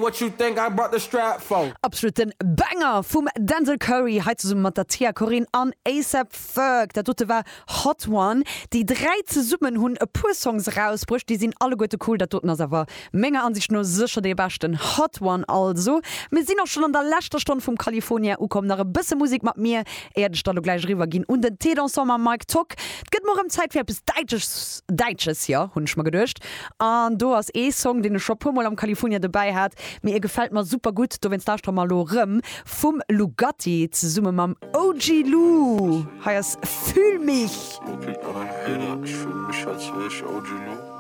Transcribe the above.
What you think I brought the strap for? Absoluten Banger vum Denzel Curry, hei zesumme mat der Tia Corinne an A$AP Ferg. Dat dote war Hot One. Déi 3 zesummen hunn e puer Songs erausbruecht, déi sinn alleguerte cool. Dat doten ass awer menger Ansicht no sécher dee beschten. Hot One also. Mir sinn och schonn an der leschter Stonn vum California ukomm. Nach e bësse Musek mat mir, éiert ech da lo gläich eriwwer ginn un den Thé Dansant mam Mike Tock. Et gëtt mol erëm Zäit fir eppes Däitsches, Däitsches, jo, hunn ech mer geduecht. An do ass ee Song, deen ech scho puer mol am California dobäi hat, mee e gefält mer super gutt, dowéinst lauschtere mer elo erëm vum Lugatti zesumme mam OG Lou. Hei ass Fühl mich. Okay, ein Hater, ich fühl mich als wär ich OG Lou.